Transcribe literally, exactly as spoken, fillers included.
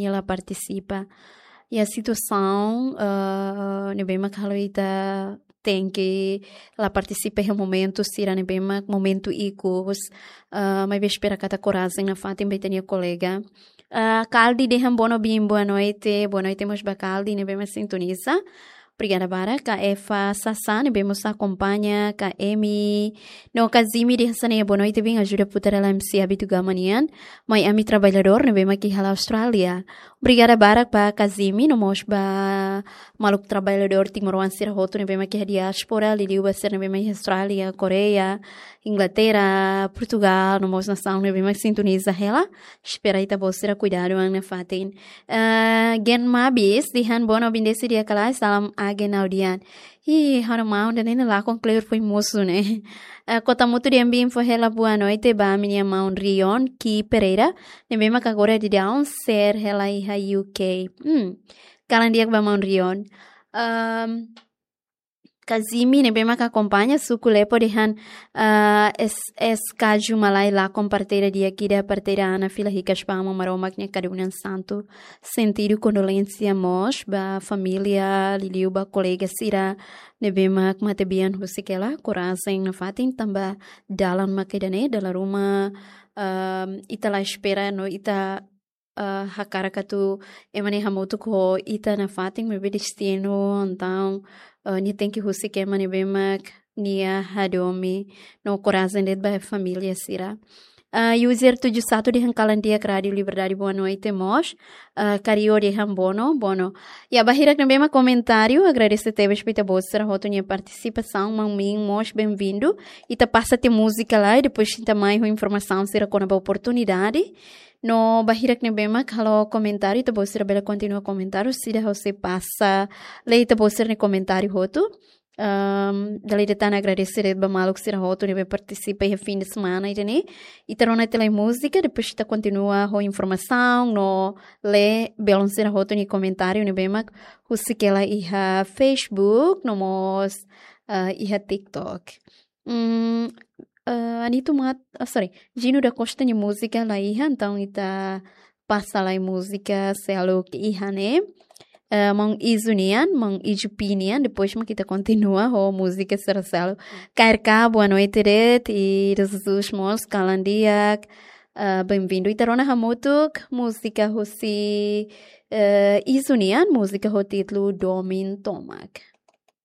nia la partisipa. Iha situasaun, eh, ne'ebé mak halo ita tenke la partisipa iha momentu sira ne'ebé mak momentu ikus, eh, maibé espera katak korajen nafatin ba ita-nia kolega. Eh, Kaldi dehan boa no-, bin, boa noite, boa noite mós ba Kaldi ne'ebé mak sintoniza. Obrigada barak, ka Eva Sasa ne'ebé mós akompaña, ka Emi, no ka Zimi dehan hanesan ne'e, boa noite bin, ajuda putar hela M C Abi tu gama nian, mai ami traballadór ne'ebé mak iha Austrália. Obrigada barak ba ka Zimi, no mós ba maluk traballadór timoroan sira hotu ne'ebé mak iha diáspora, liuliu ba sira ne'ebé mak iha Austrália, Koreia, Inglaterra, Portugal, no mós nasaun ne'ebé mak sintoniza hela. Espera ita-boot sira kuidadu an nafatin. Eh, Gen Mabis dehan boa no-, bin desi dia kalai, salam agen audian. Ih, ha'u-nia maun ida-ne'e lakon kleur foin mosu ne'e. Eh, Kota Mutu dehan bin fó hela boa noite ba ami-nia maun Rion Ki Pereira, ne'ebé mak agora daudaun share hela iha U K. Hmm. Kalan di'ak ba maun Rion. Ehm, Kazimi ne'ebé mak akompaña, suku Lepo dehan, eh, es, es kaju malai lakon, parteira di'ak ida, parteira Ana fila hikas ba Aman Maromak nia kadunan santu. Sentidu kondolénsia mós ba família, liuliu ba kolega sira ne'ebé mak matebian husik hela, korajen nafatin tanba dalan mak ida-ne'e, dala ruma, ehm, ita la espera no ita, eh, hakarak atu ema ne'e hamutuk ho ita nafatin, maibé destinu, entaun, eh, nia tenke husik ema ne'ebé mak nia hadomi, no korajen de'it ba família sira. Ah, user tujuh satu dehan kalan di'ak Rádio Liberdade, boa noite mós. Ah, Kario dehan boa no, boa no. Ya, ba hirak ne'ebé mak komentáriu, agradese tebes ba ita-boot sira hotu nia partisipasaun, maun Min mós benvindu. Ita pasa tiha múzika lai, depois ita mai ho informasaun sira kona-ba oportunidade. No ba hirak ne'ebé mak halo komentáriu, ita-boot sira bele kontinua komentáriu, sira ha'u sei pasa lee ita-boot sira-nia komentáriu hotu. Ehm, dala ida tan agradese de'it ba maluk sira hotu ne'ebé partisipa iha fin de semana ida-ne'e. Ita rona tiha lai múzika, depois ita kontinua ho informasaun no lee belun sira hotu nia komentáriu ne'ebé mak husik hela iha Facebook, no mós, eh, iha TikTok. Hmm, eh, Anito Mat-, ah, sorry, Gino da Costa nia múzika la iha, entaun ita pasa lai múzika seluk iha ne'e. Eh, maun Izu nian, maun Izu Pi nian, depois mak ita kontinua ho múzika sira seluk. K R K, boa noite de'it, i Jesus mós kalan di'ak, eh, benvindu. Ita rona hamutuk múzika husi, eh, Izu nian, múzika ho títulu Domin Tomak.